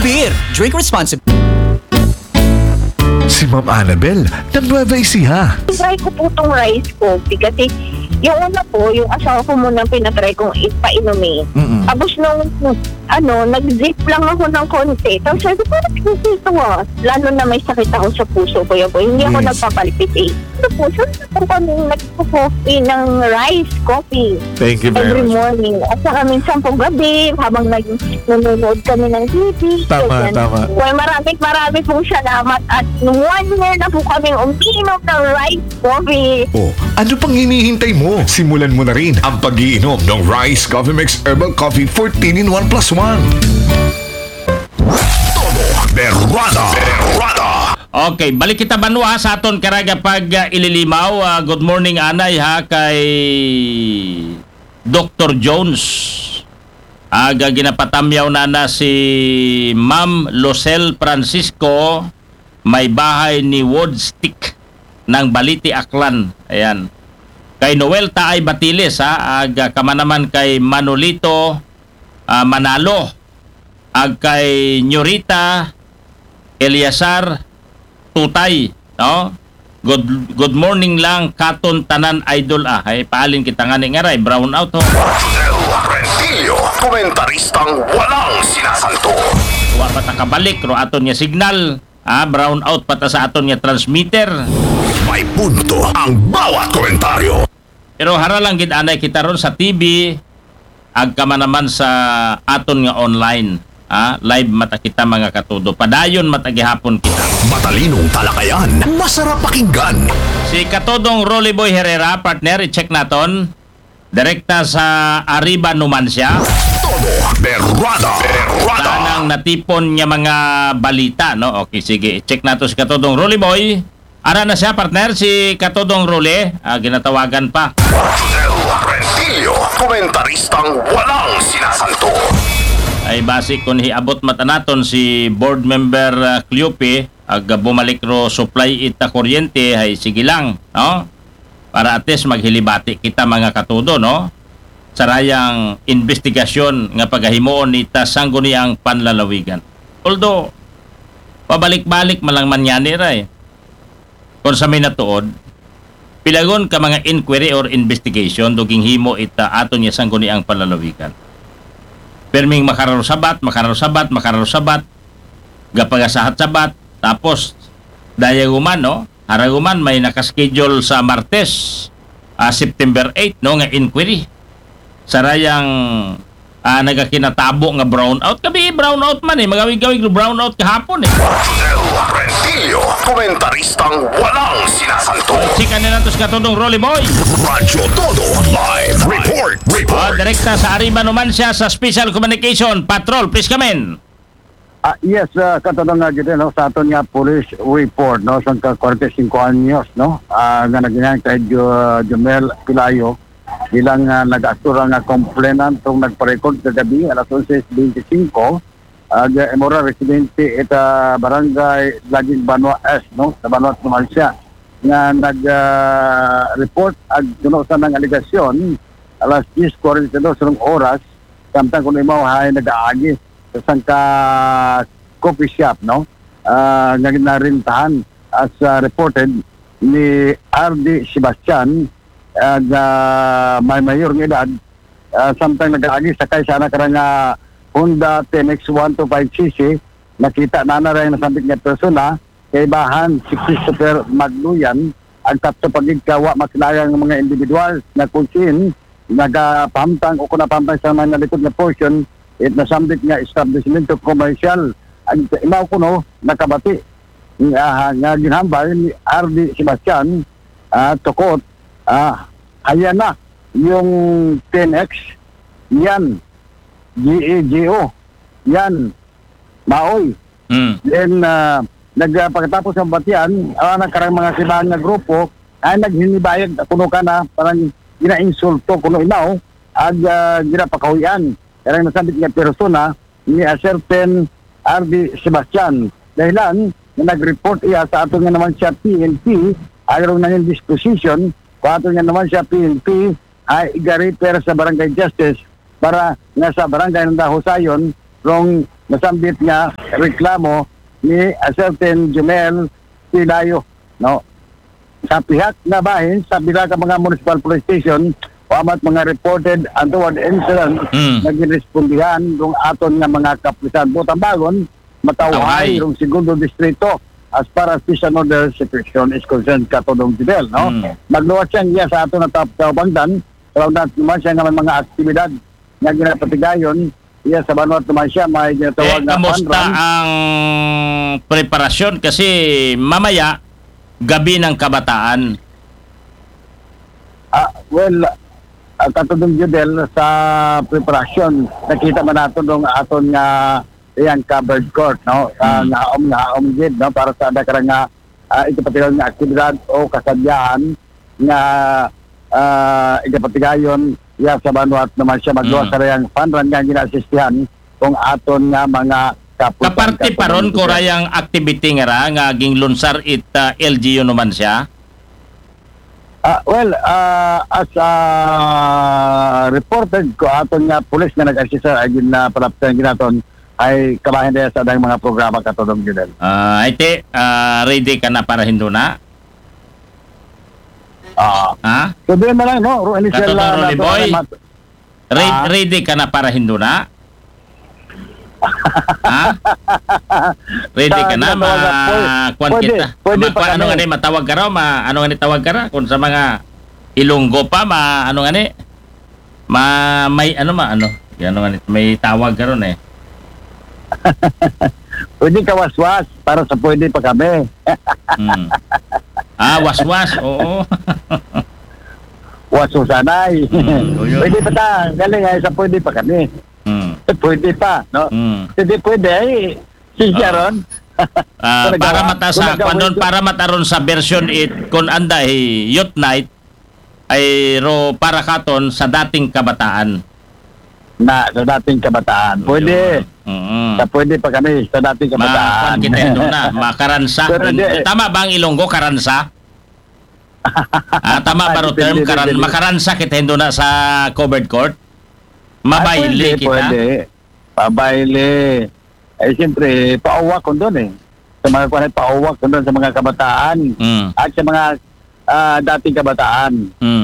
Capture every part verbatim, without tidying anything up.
Beer. Drink responsibly. Si Ma'am Annabel ng Nueva Ecija. Try ko po itong rice coffee kasi yung una po, yung asawa ko muna ang pinatry kong ipainumin. Mm-mm. Tapos nung ano, nag-zip lang ako ng konti. Tapos sabi ko, parang ito ah. Lalo na may sakit ako sa puso, Kuya Boy. Hindi ako Yes. Nagpapalpitate. Sa puso, po kami nagpo-coffee ng rice coffee Thank you every morning. At saka minsan po gabi, habang nag nanonood kami ng T V. Tama, Ganyan. tama. Well, maraming maraming pong salamat at one year na po kaming umiinom ng rice coffee. Oh, ano pang hinihintay mo? Simulan mo na rin ang pag-iinom ng Rice Coffee Mix Herbal Coffee fourteen in one plus one. Todo Berrada. Berrada. Okay, balik kita banwa sa aton karag pag uh, ililimaw. Ah, good morning, anay, ha, kay Doktor Jones. Aga ginapatamyaw na na si Ma'am Lucel Francisco, may bahay ni Woodstick ng Baliti, Aklan. Ayan. Kay Noel Taay Batiles, ha, aga kamanaman kay Manolito ah, Manalo, ag kay Nyorita Eliasar Tutay, no? Good, good morning lang katon tanan, idol, ah. Ay, paalin kita nga ni ngaray, brown out, ho. Rodel Rentillo, komentaristang walang sinasanto. Wa pa ta kabalik ro aton nga signal, ah, brown out pa ta sa aton nga transmitter. May punto ang bawat komentaryo. Pero hara lang gid anay kita ron sa T V, agka man naman sa aton nga online. Ah, live mata kita, mga katudo. Padayon mata gihapon kita. Matalinong talakayan, masarap pakinggan. Si Katodong Rolly Boy Herrera, partner, i-check naton. Direkta sa Arriba Numancia. Todo Berrada. Berrada. Tanang natipon nga mga balita, no? Okay, sige. I-check nato si Katodong Rolly Boy. Ara na siya, partner, si Katodong Rolly. Ah, ginatawagan pa. Rodel Rentillo, komentaristang walang sinasanto. Ay basi kun hiabot mata naton si board member, ah, Cleope, ag bumalik ro supply ita kuryente, ay sige lang, no? Para at least maghilibati kita, mga katudo, no? Sarayang investigasyon nga pagahimuon ita Sangguniang Panlalawigan. Although, pabalik-balik man lang man yani, ray. Kung sa may natuod, pilagon ka mga inquiry or investigation do ginhimo ita aton nga Sangguniang Panlalawigan. Perming makararusabat, makararusabat, makararusabat, gapagasahat sabat, tapos dayaguman, no? Haraguman may nakaschedule sa Martes, ah, September eight, no, nga inquiry. Sarayang ah, nagakinatabo nga brownout. Kabi brownout man eh. Magawig-gawig ro brownout kahapon eh. Rodel Rentillo, komentaristang walang sinasanto. Chika na nato si Katodong Rolly Boy. Radyo Todo Live Report. Ah, Report. Direkta sa Arriba Numancia sa Special Communication Patrol. Please come in. Ah, yes, uh, katulong nga gid, no, sa aton nga police report, no, sa ka forty-five anyos, no, ah, nga naginang kay Jo- Jomel Pilayo bilang uh, nag-astura nga complainant tong nagpa-record kagabi alas onse twenty-five, ah, nga imo ra residente ita barangay Laging Banwa S, no, sa Banwa Numancia, nga nag ah, report ag kuno sa nang alegasyon alas diyes kwarenta y dos rong oras, samtang kuno imo hay nag-aagi sa sangka coffee shop, no? Ah, nga ginarintahan as ah, reported ni R D Sebastian, ah, nga may mayor nga edad, ah, samtang nag-aagi sakay sa anak ra nga Honda T M X one two five C C, nakita na na rin nasambit nga persona, kaibahan si Christopher Magluyan, ang tatlo pagid ka wa makilala nga mga individual nga kung sin nagapahamtang o kung napahamtang sa mga nalikod nga portion, it nasambit nga establishment commercial. Ang imaw kuno nakabati nga, nga ginhambal ni R D Sebastian, ah, tukot, ah, haya na yung ten X, yan, G A G O, yan, maoy. Hmm. Then, ah, nag, ah, pagkatapos ng batian, ah, nagkarang mga sibahan nga grupo, ay naghinibayag kuno ka na, parang ginainsulto kuno inaw, ag ah, ginapakahuyan. Karang nasabit nga persona ni a certain R D Sebastian. Dahilan nga nag-report iya sa ato nga naman siya P N P, aron nangin disposition, kung ato nga naman siya P N P, ay iga-refer sa Barangay Justice para nga sa barangay ng Dahusayon, rong nasambit nga reklamo ni a certain Jumel Silayo, no? Sa pihak nga bahin, sa pila ka mga municipal police station, wa man mga reported untoward incident Mm. nga ginrespondihan rong aton nga mga kapulisan. Buot tambagon, matawhay Matawhay. rong segundo distrito as far as peace and order situation is concerned, Katodong Judel, no? Mm. Magluwas siya iya sa aton nga tap-, taubangdan, sa una naman siya nga may mga aktibidad nga ginapatigayon iya sa banwat naman siya may Eh, ginatawag na kamusta fun run. Ang preparasyon? Kasi mamaya, gabi ng kabataan. Ah, well, ah, Katodong Judel, sa preparasyon, nakita man nato nung aton nga iyang covered court, no? Sa Hmm. ngaom, ngaom gid, no? Para sa ada ka nga, ah, ikapatigayon nga aktibidad o kasadyahan nga, ah, ikapatigayon, iya sa banwat naman siya magluwas Hmm. sa iyang fun run nga ginaasistihan kung aton nga mga kapulisan. Kaparte pa ron ko rayang activity nga ra nga ginglunsar it, ah, L G U naman siya? Ah, well, ah, as, ah, reported ko aton nga pulis nga nag-assist sa agin na palapsan ginaton ay kabahin dahil sa adang mga programa, Katodong Judel. Ah, ay te, ah, ready ka na para hinduna? Ah. Ha? So, doon na lang, no? Ro-, initial Katodong na Rolly nato Boy. na mat- Re- Ah. Ready ka na para hinduna? Ha? Ready ka na? Sa ginagawa nga, Ma-, pwede, kuwan pwede, kita. pwede Ma-, pa kuwan, ano kami. nga ni, matawag ka raw? Ma-, ano nga ni, tawag ka ra? Kung sa mga Ilonggo pa, ma-, ano nga ni? Ma-, may, ano ma-, ano? Ano nga ni? May tawag ka ron eh. Pwede ka waswas para sa pwede pa kami. Hmm. Ah, waswas, oo. Waswasanay. Hmm, yun. Pwede pa ta. Galing ay sa pwede pa kami. Hmm. Eh, pwede pa, no? Hmm. Hindi pwede ay. Si Oo. Sharon. Ah, Talaga, para wala. mata sa Talaga, kwan doon, wala. Para mata ron sa version eight, kung anda hi Youth Night, ay ro para katon sa dating kabataan. Na, sa dating kabataan. Pwede. Yun. Mm. Sa pwede pa kami, sa dating kabataan. Ma-, kwan kita hinduna, makaransa. Pero di, Tama ba ang Ilonggo, karansa? Ah, tama ba ro Depende, term? Karan-, depende. Makaransa kita hinduna sa covered court? Ah, Mabayle pwede, kita? Pwede. Mabayle. Eh, siyempre, pauwak ko doon eh. Sa mga kuwan, pauwak ko doon sa mga kabataan. Mm. At sa mga ah, dating kabataan. Mm.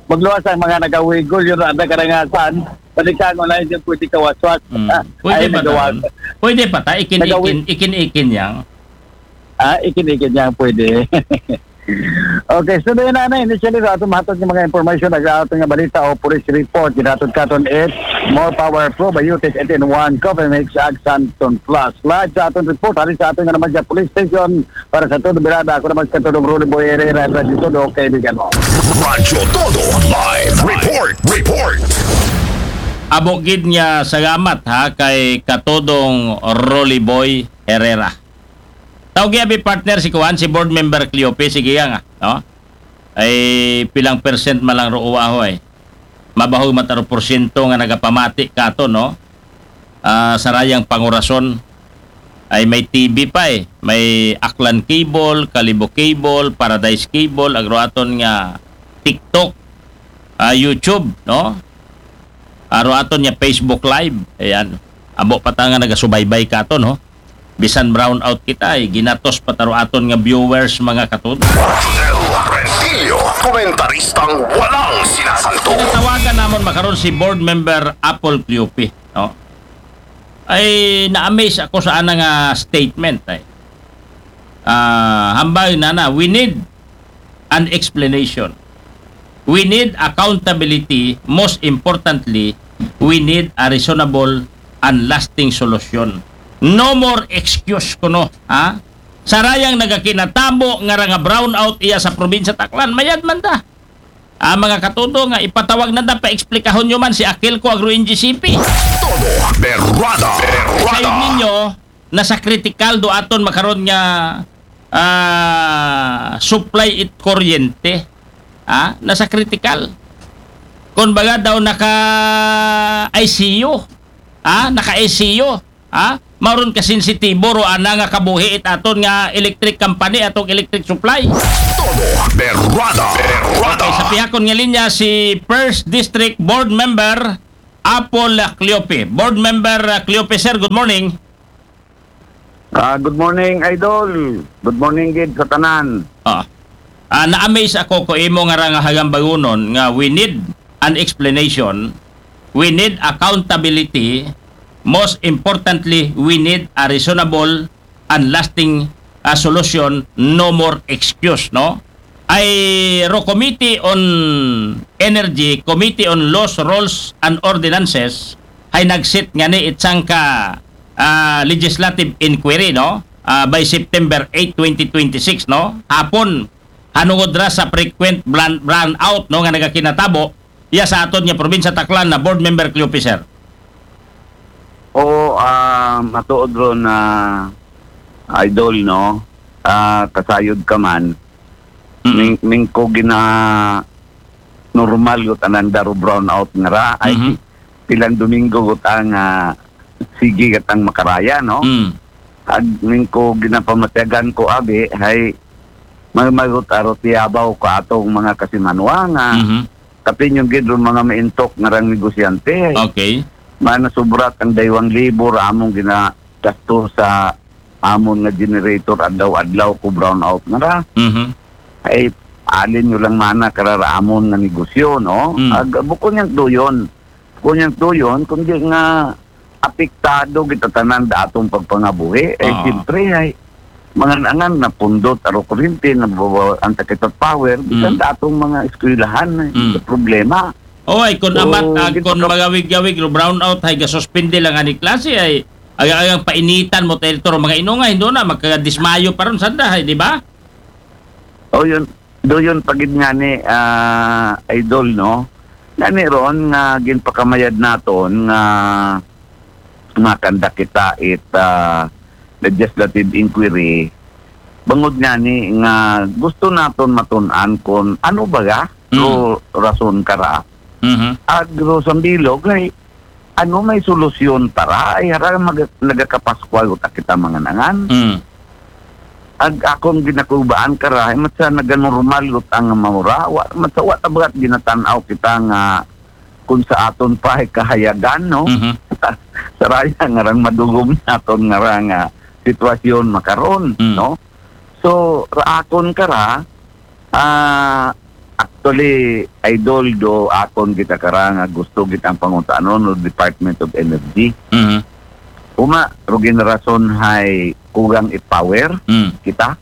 Magluwas ang mga nagawigol, yun ang karangasan. Balikan mo na yung pwede kawaswas. Mm. Ah, Pwede ay, pa nagawa- ta? Pwede pa ta? Ikin-ikin, Nagawi- ikin-ikin yang. Ah, ikin-ikin yang pwede. Okay, so doon na na, initially, sa atong mahatod ng mga information, nag atong nga balita o police report, ginatod katon it, more power probiotic, eight-in-one, coffee mix, ag Santon Plus. Live sa atong report, hari sa atong nga naman sa police station, para sa Todo Birada, ako naman sa Todo Rolly Boy Herrera, Radyo Todo, kaibigan mo. Radyo Todo Live Report. Report. Abo gid nga salamat ha kay Katodong Rolly Boy Herrera. Tawgi abi partner si kuan, si board member Cleope, sige nga, no? Ay pilang percent man lang ro uwaho ay. Mabahog man ta ro porsyento nga nagapamati kato, no? Ah, sa rayang pangurason ay may T V pa eh. May Aklan Cable, Kalibo Cable, Paradise Cable, agro aton nga TikTok, ah, YouTube, no? Aro aton nga Facebook Live. Ayan. Abo pa ta nga nagasubaybay kato, no? Bisan brown out kita, eh, ginatos pa ta ro aton nga viewers, mga katod. Rodel Rentillo, komentaristang walang sinasanto. Tawagan namon makaron si board member Apple Cleope, no? Ay, na-amaze ako sa ana nga statement, ay. Ah, hambal na na, we need an explanation. We need accountability. Most importantly, we need a reasonable and lasting solution. No more excuse kuno, ha? Sa rayang nagakinatabo nga ra nga brownout iya sa probinsya Aklan, mayad man ta. Ah, mga katudo nga ipatawag na ta, paeksplikahon nyo man si Akil ko Agro N G C P. Todo Berrada. Sa Berrada. Ninyo, nasa critical do aton makaron nga, ah, supply it kuryente. Ah, nasa critical. Kung baga daw naka I C U. Ah, naka I C U. Ah, mauron ka sensitibo ro ana nga kabuhi it aton nga electric company, atong electric supply. Todo Berrada. Berrada. Okay, sa pihakon nga linya si First District Board Member Apple Cleope. Board Member, ah, Cleope, sir, good morning. Ah, good morning, Idol. Good morning gid sa tanan. Ah. Ah, na-amaze ako ko imo nga ra nga hagambagunon nga we need an explanation, we need accountability, most importantly, we need a reasonable and lasting, ah, solution, no more excuse, no? Ay ro Committee on Energy, Committee on Laws, Rules, and Ordinances, hay nagsit ngani it sangka, ah, legislative inquiry, no? Ah, by September eight, twenty twenty-six, no? Hapon, hanungod ra sa frequent brown-, brownout, no, nga nagakinatabo, iya sa aton nga probinsya Tacloban na Board Member Cleope, sir. Oo, ah, matuod ron na Idol, no? Ah, kasayod ka man. Mm. Ming, mingko gina normal gud anang daro brownout nga ra. Ay, Mhm. pilang Domingo gud ang, ah, sige gatang makaraya, no? Mm. Ag mingko ginapamatyagan ko abi, hay, may magot aro tiyabaw ka atong mga kasimanwa nga Mhm. kapin yung gid ron mga maintok nga rang negosyante. Okay. Mana sobrat ang daywang libor among ginagastos sa amon nga generator adlaw-adlaw ko brownout nga ra. Mhm. Ay, alin nyo lang mana karara amon nga negosyo, no? Mm. Ag, bukon yang tuyon. Bukon yang tuyon, kundi nga apektado kita tanan da atong pagpangabuhi. Ay, Oo. siyempre, ay, mga nangan na pundot, aro kuryente, na bawa-, ang sakit at power, bisan Mm. da atong mga eskwelahan, eh, Mm. sa problema. O, ay, kung So, amat, ag, di kung pa ka- magawig-gawig, ro brownout, hay, gasuspindi lang ani klase, ay, agang-agang painitan mo, tayo turo, mga inunga, hindi na, magkadismayo pa ron, sanda, hay, di ba? O, yun. Do yun, pagid nga ni, ah, Idol, no? Nga ni ron, nga ginpakamayad naton, nga makanda kita it, ah, legislative inquiry. Bangod nga ni, nga gusto naton matun-an kung ano ba ga, Mm. ro rason kara. Mhm. Ag ro sambilog, ay, ano may solusyon para? Ay, hara mag-, nagakapaskwal uta kita mga nangan. Mm. Ag akong ginakubaan kara, ay, matsa naganormal uta nga maura. Wa, matsa wa tabagat ginatanaw kita nga kung sa aton pa ay kahayagan, no? Mhm. Saraya nga rang madugom naton nga ra nga sitwasyon makaron, Mm. no? So, raakon kara, ah, actually, Idol, do akon kita kara nga gusto gitang pangutanon no Department of Energy. Mhm. Uma, ro gin rason hay kugang it power Mm. kita.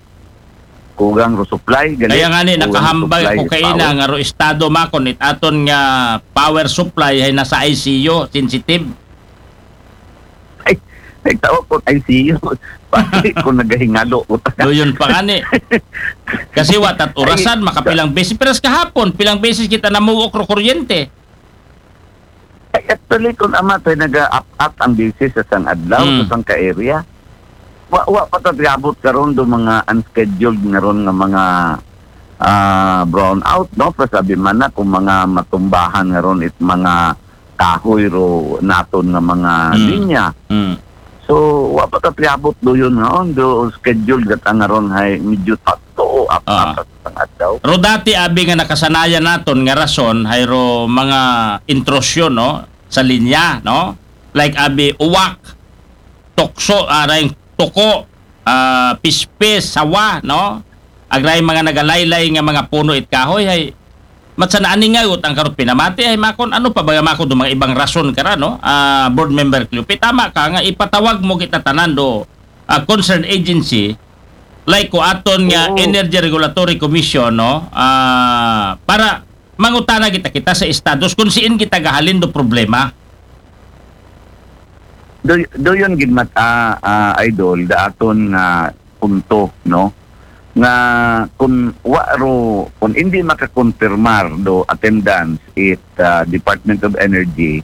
Kugang ro supply, gali. Kaya nga ni, kugang nakahambal supply ko it kaina power. Nga ro estado makon, it aton nga power supply hay nasa I C U, sensitive. Ay, nagtao ko I C U. Pati ko nagahingalo ko. Do yun pa nga ni. Kasi wa tat orasan, Ay, makapilang beses. Pero sa kahapon, pilang beses kita namuok ro kuryente. Ay, actually, kung amat ay naga-up-up ang beses sa sang adlaw, Hmm. sa sang ka-area. Wa, wa pa ta tiabot karon do mga unscheduled nga ron nga mga, ah, brownout, no? Pero sabi man na kung mga matumbahan nga ron it mga kahoy ro naton nga mga Hmm. linya. Hmm. So, wa pa ta tiabot do yun, no? Do scheduled gat ang nga ron hay medyo tatlo o Ah. apat ang adlaw. Ro dati abi nga nakasanayan naton nga rason, hay ro mga intrusyon, no? Sa linya, no? Like abi uwak, tukso, ah, ray tuko, ah, pispis, sawa, no? Ag ray mga nagalaylay nga mga puno it kahoy, hay, matsa naaningaw uta ang karot pinamati, hay, makon, ano pa ba makon do mga ibang rason kara, no? Ah, Board Member Cleope, tama ka nga ipatawag mo kita tanan do, ah, concerned agency, like ko aton nga Oo. Energy Regulatory Commission, no? Ah, para mangutana kita, kita sa estados kung siin kita gahalin do problema. Do, do yun gid mat-, ah, ah, Idol, da aton nga punto, no? Nga kung wa ro, kung hindi makakonfirmar do attendance it, ah, Department of Energy,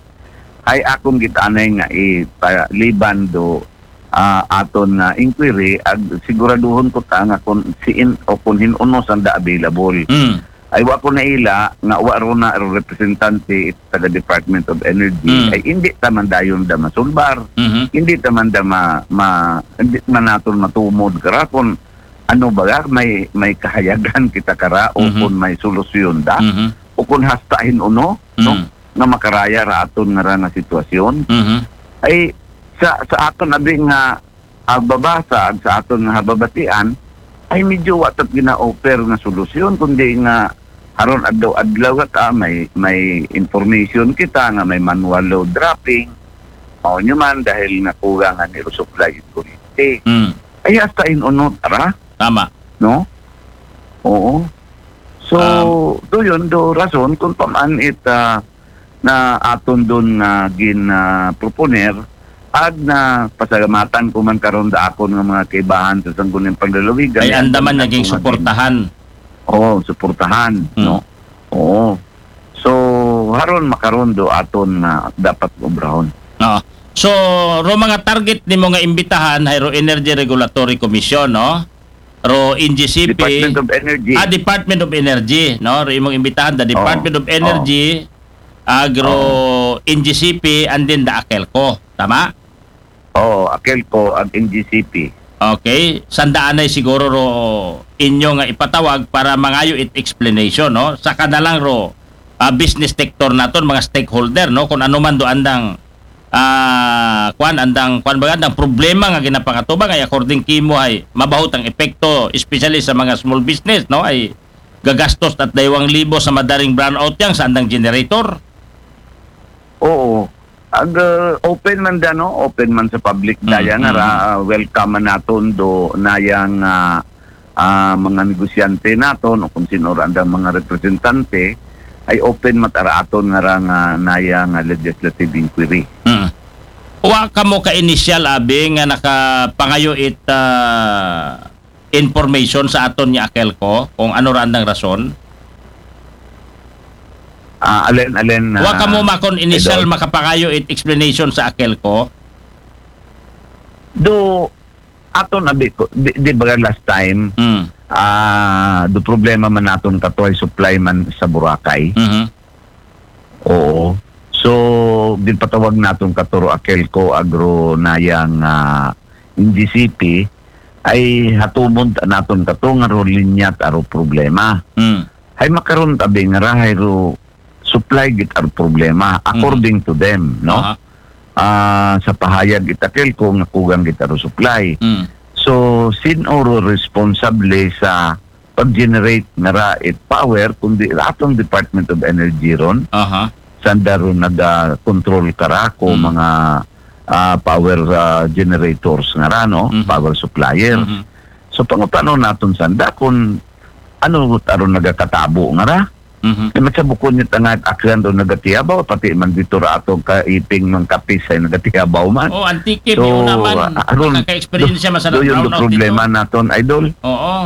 ay akong gitanay nga ipaliban do, ah, aton na inquiry, ag siguraduhon ko ta nga kung siin o kung hin-uno sanda available. Mm. Ay wa ko naila nga wa ro na ro representante it taga Department of Energy, Mm. ay hindi ta man dayon da masulbar. Mhm. Hindi ta man da ma-, ma-, hindi man naton matumod kara kung ano ba ga, may, may kahayagan kita kara o Mhm. kung may solusyon da. Mhm. O kung hasta hin-uno, no? Mm. nga makaraya ra aton nga ra nga sitwasyon. Mhm. Ay sa sa aton abi nga agbabasa ag sa aton nga hababatian, ay medyo wa tat gina-offer nga solusyon, kundi nga haron adlaw-adlaw ta may may information kita nga may manual load dropping. Mao nyo man dahil nga kulang ang iro supply in kuryente. Mm. Ay hasta in unot ara, Tama. no? Oo. So, Um, do yun, do rason kung paman it ah, na aton dun nga gin ah, proponer ag na pasalamatan ko man karon da akon nga mga kaibahan sa Sangguniang Panlalawigan. Ay Ay, andaman andam naging na ko nga suportahan. Oo, suportahan, Hmm. no? Oo. So, haron makaron do aton nga dapat obrahon. Oo. So, ro mga target nimo nga imbitahan hay ro Energy Regulatory Commission, no? Ro N G C P. Department of Energy. Ah, Department of Energy, no? Ro imong imbitahan the Department Oo. of Energy, ag ro N G C P, and then the AKELCO. Tama? Oo, AKELCO ag N G C P. Okay, sandaanay siguro ro inyo nga ipatawag para mangayo it explanation, no? Sa kanalang ro ah, business sector naton, mga stakeholder, no? Kung ano man do andang ah, kwan, andang kwan ba, andang problema nga ginapangatubang ay according kimo ay mabahut ang epekto, especially sa mga small business, no? Ay gagastos at daywang libo sa madaring brownout yang sa andang generator. Oo. Ag uh, open man da, no? Open man sa public Mm, daya nga mm, ra, mm. Uh, welcome man naton do nayang uh, uh, mga negosyante naton o kung sino ra andang mga representante ay open man ta ra aton nga ra nga nayang uh, legislative inquiry. Mm. Wa kamo ka initial abi nga nakapangayo it ah, information sa aton nga AKELCO kung ano ra andang rason? Ah, alen alen Wa kamo makon initial Idol. Makapangayo it explanation sa AKELCO? Do aton abi ko di, di ba last time Mm. ah do problema man naton katuay supply man sa Boracay. Mhm. Oo. So gipatawag naton katuro AKELCO agro nayang ah, N G C P ay hatumon ta naton kato nga ro linyat aro problema. Mm. Hay makaron tabi nga rahay ro supply git aro problema according to them, no? Aha. Ah, sa pahayag it AKELCO nga kugang git aro supply. Mm. So sin oro responsable sa pag-generate nga ra it power kundi atong Department of Energy ron Aha. sanda ron naga-control kara ko Mm. mga ah, power ah, generators nga ra, no? Mhm. Power supplier. Mhm. So pangutano naton sanda kung ano aron nagakatabo nga ra. Mhm. Kay matsabukon niya tanga aklan do nagatiyabaw pati man dito ra atong kaiping ng kapis ay nagatiyabaw man. Oh, Antique, So, may una man. ah, aron- Nakaka-experience siya man sa Do yun do brownout problema dito. Naton, idol. Oo.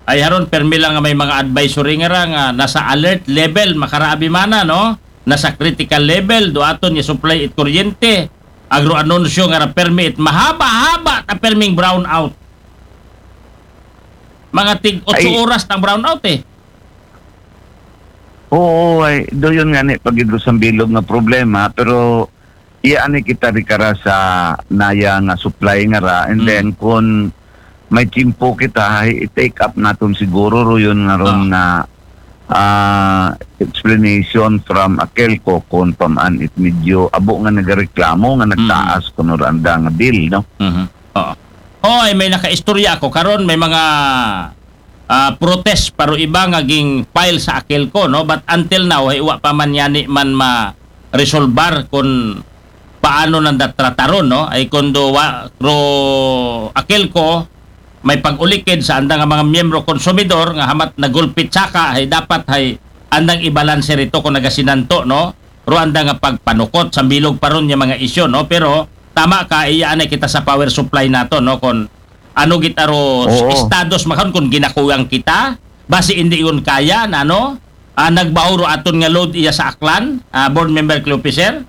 Ay haron permi lang nga may mga advisory nga ra nga nasa alert level makaraabi mana, no? Nasa critical level do aton nga supply it kuryente. Agro anunsyo nga ra permi it mahaba-haba ta perming brownout. Mga tig otso Ay. Oras tang brownout eh. Oo, ay do yun nga ni pagidro sa bilog nga problema pero iya ani kita ri kara sa naya nga supply nga ra and Mm. then kung may tiyempo kita ay i-take up naton siguro ro yun nga ron Ah. na ah, explanation from AKELCO kung paman it medyo abo nga nagareklamo nga nagtaas kuno ra anda nga bill, no? Mhm. Oo. Hoy, may nakaistorya ako karon may mga ah, protest paro iba nga ging file sa AKELCO, no? But until now, ay wa pa man yani man ma-resolbar kung paano nanda trataron, no? Ay kundo wa ro AKELCO may pag-ulikid sa anda nga mga miyembro konsumidor nga hamat nagulpit saka ay dapat ay andang ibalanse rito kung nagasinanto, no? Ro anda nga pagpanukot sa bilog paron nga mga isyu, no? Pero tama ka, iya anay kita sa power supply nato, no? Kung ano gitaro Oo. Estados makan kung ginakulang kita, basi hindi yun kaya na ano, ah, nagbaho ro aton nga load iya sa Aklan, ah, board member Cleopicer?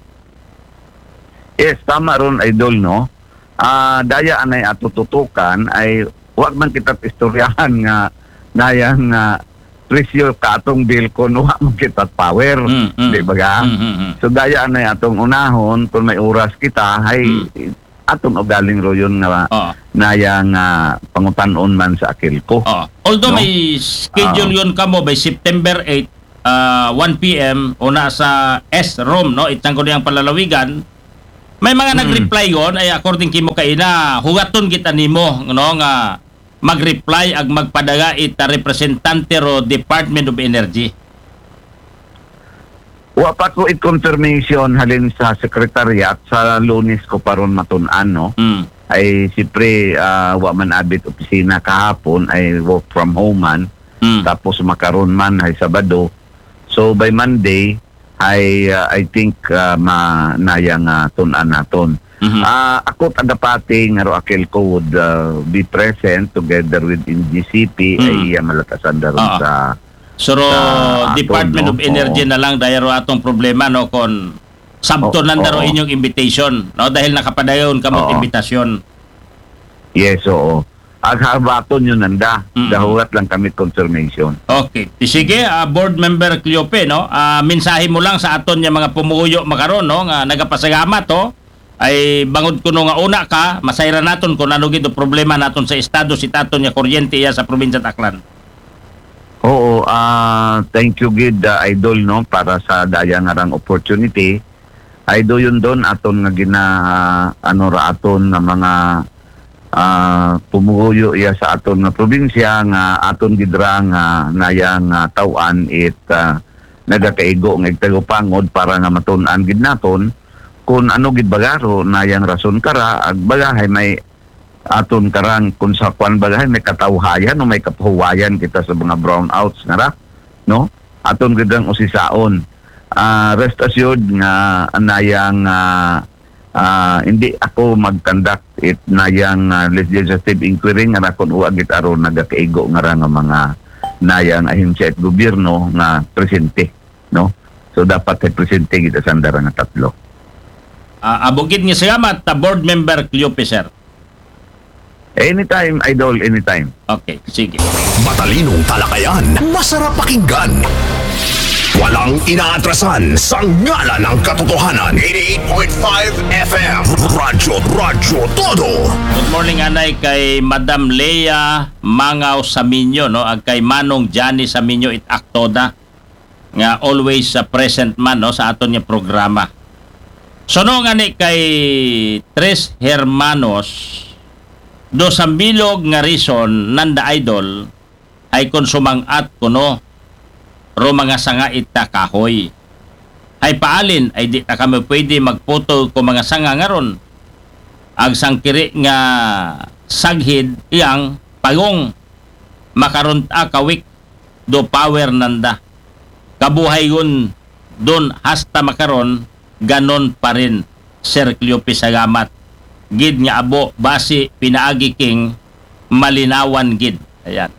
Yes, tama ron, idol, no? Ah, daya anay ato tutukan ay wag man kita istoryahan nga nayang nga presyo ka atong bill kung wa man kita power. Mm, mm. Di ba ga? Mm, mm, mm. So daya anay atong unahon kung may oras kita ay Mm. atong ugaling ro yun nga Oo. nayang ah, pangutan-on man sa AKELCO. Oh. Although No? may schedule Ah. yun kamo by September eight, ah, one P M, una sa S room, no? Itsang ko niyang palalawigan. May mga nag-reply yon, ay according kimo kaina, hugaton kita nimo, no, nga mag-reply ag magpadala ita representante ro Department of Energy. Wa pa ko it confirmation halin sa secretariat, sa Lunes ko pa ron matun-an, no? Mm. Ay, siyempre, ah, wa man abit opisina kahapon, ay work from home man. Mm. Tapos makaron man, ay Sabado. So, by Monday, ay, ah, I think, ah, ma, nayang ah, tun-an naton. Mhm. Ah, ako tagapati nga ro Aquelco would ah, be present together with N G C P, Mm. ay iya malatasan daron Ah. sa So, ro, Sa aton, Department no? of Energy Oo. na lang, daya ro atong problema, no, kung sabto Oo, nanda ro oo. inyong invitation, no, dahil nakapadayon kamo Oo. imbitasyon. Yes, oo. Ag habaton yun nanda. Mm. Dahulat lang kami confirmation. Okay. Di sige, ah, Board Member Cleope, no? Ah, mensahe mo lang sa aton nga mga pumuyo makaron, no? Nga nagapasalamat, oh. Ay bangod kuno nga una ka, masayran naton kung ano gid o problema naton sa estado sa aton nga kuryente iya sa probinsya Aklan. Oo, ah, thank you gid, ah, Idol, no, para sa daya nga rang opportunity. Ay do yun don aton nga gina, ano ra aton nga mga ah, pumuyo iya sa aton nga probinsya nga aton gid ra nga nayang ah, taw-an it ah, nagakaigo nga igtagupangod para nga matun-an gid naton kung ano gid bagaro nayang rason kara ag bagahay may aton karang kung sa kwan bagahay may katawhayan o may kapahuwayan kita sa mga brownouts nga ra, no? Aton gid rang usisaon. Ah, rest assured nga anayang ah, ah, hindi ako mag-conduct it nayang ah, legislative inquiry nga ra kun wa gid aron nagakaigo nga ra nga mga nayang ahensya it gobyerno nga presente, no? So dapat ay presente gid asanda ra nga tatlo. Ah, abo gid nga salamat ta Board Member Cleope, sir. Anytime, Idol, anytime. Okay, sige. Matalinong talakayan, masarap pakinggan. Walang inaatrasan sa ngalan ng katotohanan. Eighty-eight point five F M. Radyo, Radyo Todo. Good morning, anay, kay Madam Lea Mangaw Saminyo, no? Ag kay Manong Johnny Saminyo it aktoda nga always sa present man, no, sa aton nga programa. So, no, nga ni kay Tres Hermanos, do sa bilog nga reason nanda, Idol, ay kung sumang-at kuno ro mga sanga ita kahoy. Ay paalin ay di ta kami pwede magputol ko mga sanga ngaron. Ag sangkiri nga saghid iyang pagong makaron ta kawik do power nanda. Kabuhay yun don hasta makaron ganon pa rin, Sir Cleope, salamat. Gid nga abo, basi, pinaagi king malinawan gid. Ayan.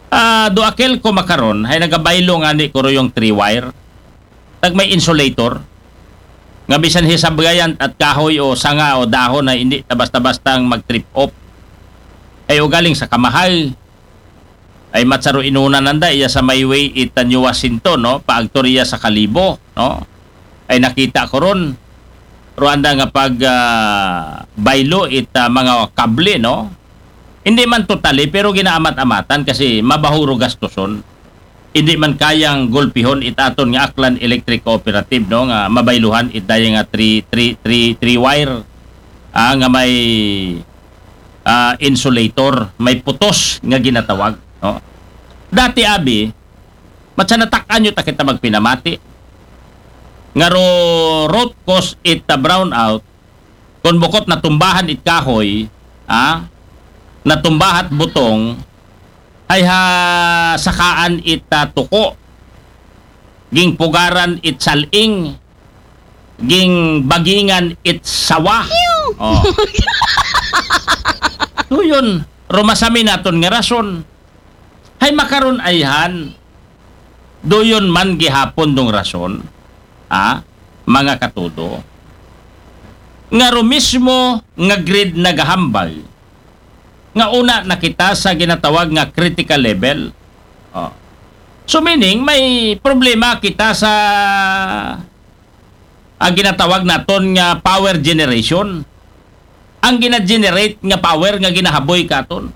Ah, do Aquelco makaron, hay nagabaylo nga ni kuro yung three wire. Tag may insulator. Nga bisan hisabgayan at kahoy o sanga o dahon na hindi ta basta-bastang mag-trip off. Ay ugaling sa kamahal, ay matsaro inuna nanda iya sa may way ita New Washington, no? Paagtor iya sa Kalibo, no? Ay nakita ko ron. Ruanda nga pag ah, baylo ita mga kable, no? Hindi man totally, pero ginaamat-amatan kasi mabahuro gastuson. Hindi man kayang gulpihon itaton nga Aklan Electric Cooperative, no? Nga mabayluhan itaya nga three, three, three, three wire ah, nga may ah, insulator, may putos nga ginatawag, no? Dati abi, matsa natakan nyo ta kita magpinamati. Nga ro root cause it ah, brownout, kung bukot natumbahan it kahoy, ah, natumbahat butong, ay ha sakaan it ah, tuko, ging pugaran it saling, ging bagingan it sawa. Oh. Duyon, rumasami naton nga rason. Hay makaron ayhan. Duyon man gihapon dong rason. Ha? Mga katudo. Nga ro mismo nga grid nagahambal. Nga una na kita sa ginatawag nga critical level. Oh. So meaning, may problema kita sa ang ginatawag naton nga power generation. Ang gina-generate nga power nga ginahaboy katon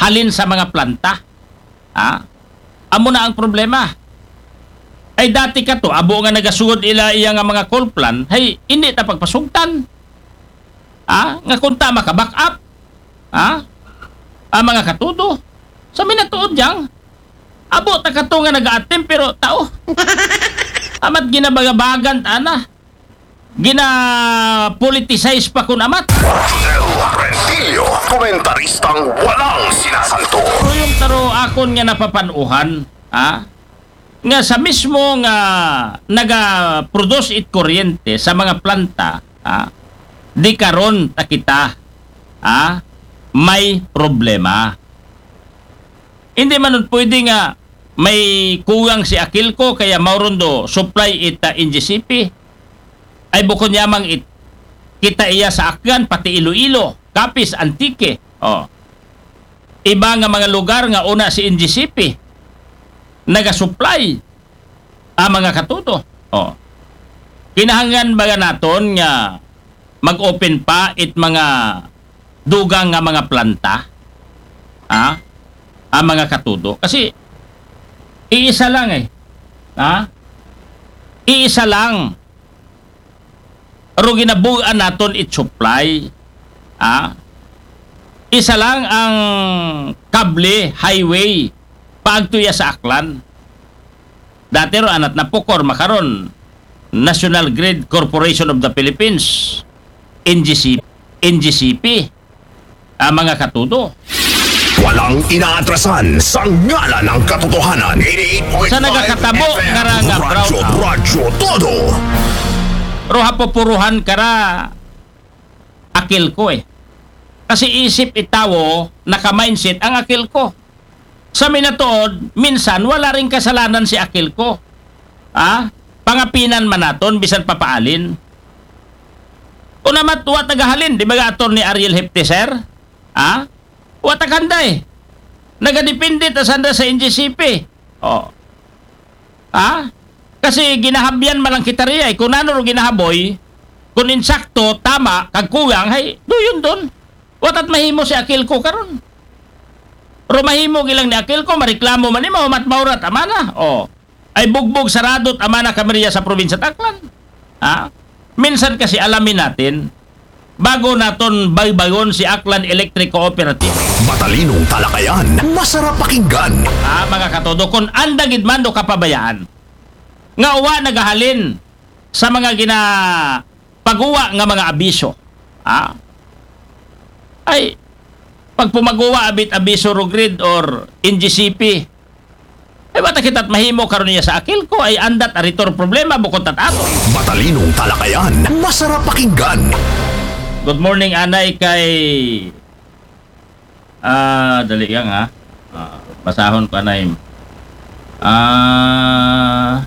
halin sa mga planta. Ha? Amo na ang problema. Ay dati kato, abo nga nagasugod ila iya nga mga coal plant, hay, hindi ta pagpasugtan. Ha? Nga kunta maka-back up. Ha? Ang mga katudo. Sa minatuod diyang, abo ta kato nga nag-a-attempt, pero tao. Amat ginabagabagan ta na. Gina-politicize pa kun amat. Rodel Rentillo, komentaristang walang sinasanto. Pero yung taro akon nga napapanuhan, ha? Nga sa mismo nga naga-produce it kuryente sa mga planta, ha? Di karon ta kita, ha? May problema. Hindi man nun pwede nga may kulang si Akilco kaya mauron do supply it, ah, N G C P. Ay bukon yamang it, kita iya sa Aklan, pati Iloilo, Capiz, Antique. Oh. Iba nga mga lugar nga una si N G C P nagasupply ang mga katudo. Oh. Kinahanglan ba naton nga mag-open pa it mga dugang nga mga planta? Ha? Ang mga katudo. Kasi iisa lang eh. Ha? Iisa lang. Pero ginabugaan naton it supply. Ha? Isa lang ang kable, highway, paagto iya sa Aklan. Dati ro anat na POCOR, makaron National Grid Corporation of the Philippines, N G C, N G C P, ang mga katudo. Walang inaatrasan sa ngalan ng katotohanan. Sa nagakatabo nga ra nga Radyo, brownout. Radyo Todo. Pero hapupuruhan ka ra, Akilco eh. Kasi isip itawo, naka-mindset ang Akilco. Sa minatuod, minsan wala ring kasalanan si Akilco. Ha? Pangapinan man naton, bisan papaalin. Unamat, wa tagahalin, di ba ga Attorney Ariel Hepte, sir? Ha? Wa takanday. Nagadepende ta sanda sa N G C P. Oh. Ha? Kasi ginahabyan man lang kita riya, eh. Kung ano ro ginahaboy, kung insakto, tama, kag kulang, hay, duyon dun. Watat mahimo si Akilco karon. Pero mahimo gilang ni Akilco, mareklamo man nimo, mat maurat, amana. Oh. Ay bugbog saradot, amana kami riya sa probinsya Aklan. Ha? Minsan kasi alamin natin, bago naton baybayon si Aklan Electric Cooperative. Matalinong talakayan, masarap pakinggan. Ah, mga katodo, kung anda gid man do kapabayaan, nga uwa nagahalin sa mga gina-, paguwa nga mga abiso. Ah? Ay, pagpumaguwa abit abiso ro grid or N G C P, ay, bata kita't mahimo karon niya sa Akilco, ay andat aritor problema, bukod tat ato. Matalinong talakayan, masarap pakinggan. Good morning, anay kay, ah, dali lang, ha. Ah, basahon ko, anay. Ah,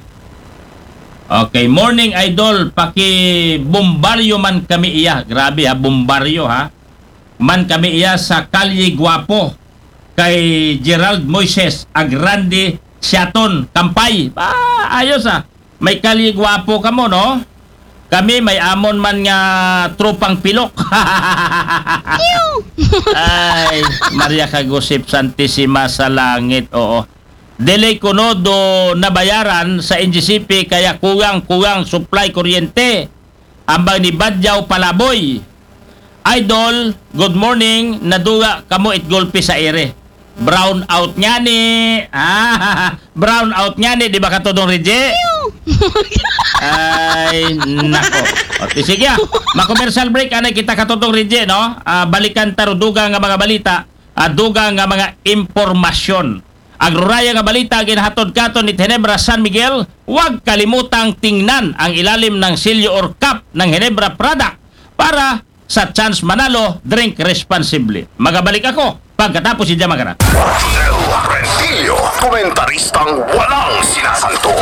okay, morning, idol. Paki-bombaryo man kami iya. Grabe, ha, bombaryo, ha. Man kami iya sa Kalye Guapo kay Gerald Moises ag Randy Siaton Kampay. Ba, ayos, ah. May Kalye Guapo kamo, no? Kami may amon man nga tropang pilok. Ay, Maria Kagusip Santisima sa Langit, oo. Dili kuno do nabayaran sa N G C P kaya kulang-kulang supply kuryente. Ambag ni Badyaw Palaboy. Idol, good morning. Naduga kamo it gulpi sa ere. Brown out nga ni. Ah, brown out nga ni, di ba, Katodong Rije? Ay, nako. O, ti, sige, ah. Ma-commercial break, anay kita, Katodong Rije, no? Ah, balikan ta ro dugang nga mga balita, ah, dugang nga mga impormasyon. Agroraya nga balita ginahatod katon ni Ginebra San Miguel, huwag kalimutang tingnan ang ilalim ng silyo or cup ng Ginebra Prada para sa chance manalo, drink responsibly. Magabalik ako pagkatapos ni Jamagarat. Rodel Rentillo, komentaristang walang sinasanto.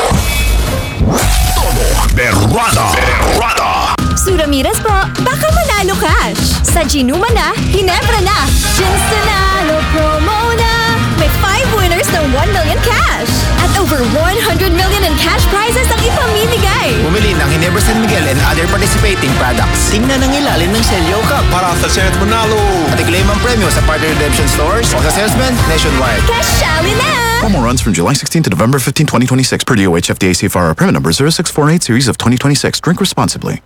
Todo Berrada. Berrada. Suramiras po, baka manalo cash. Sa Ginuma na, Ginebra na. Ginsanalo promo na. May five winners ng one million cash. At over one hundred million in cash prizes ang ipamimigay. Bumili ng Ginebra San Miguel and other participating products. Tingnan ang ilalim ng Selyo Cup. Para sa chance manalo. At i-claim ang premyo sa partner redemption stores o sa salesman nationwide. Kasali na! Promo runs from July sixteenth to November fifteenth, twenty twenty-six, per D O H F D A Safe Harbor permit number zero six four eight series of twenty twenty-six. Drink responsibly.